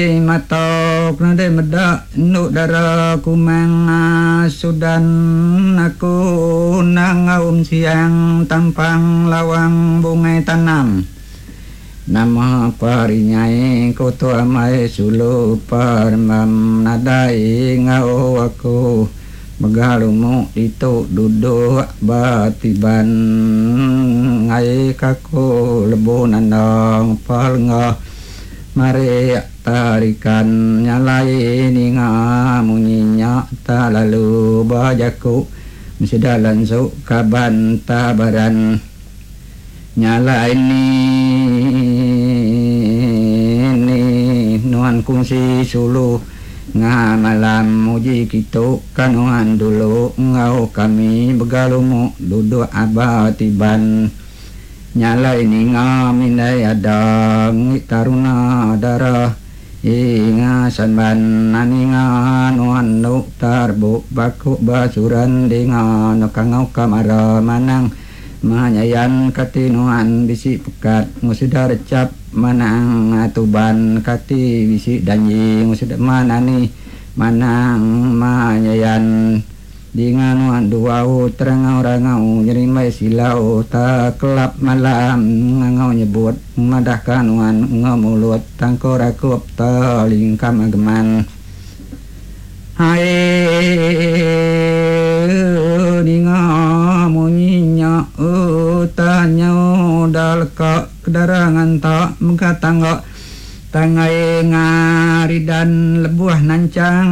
Mata ku nadai meda endu dara kumang sudan aku endang ngaum siang tampang lawang bungai tanam. Nama parinyai ku tu amai sulu parembam nadai enggau aku mega lumuk ditu duduk ba tiban ngai ka aku lebu nanda ngepa lenga. Marik tarikan nyalai ninga munyi nya ta lalu ba jaku mesida lansu kaban tabaran nyalai ni ni nuan kungsi sulu nga malam uji kitu ka nuan dulu enggau kami begalumu duduk aba tiban. Nya alai ninga mindai ada ngi taruna dara inga samban ninga nuan enu tarbu baku basuran dinga no kangau ka mara manang manyayan kati nuan bisi pekat ngusuda recap manang tuban kati bisi danji ngusuda manani manang manyayan. Dinga nuan duau terangau rangau nyerimbai silau ta kelap malam ngangau nyebut madahka nuan enggau mulut tangko rakup ta lingkam ageman. Hai ninga munyi nya ta nyau da leka kedara nganta mega tangga tangai ngaridan lebuh nanchang.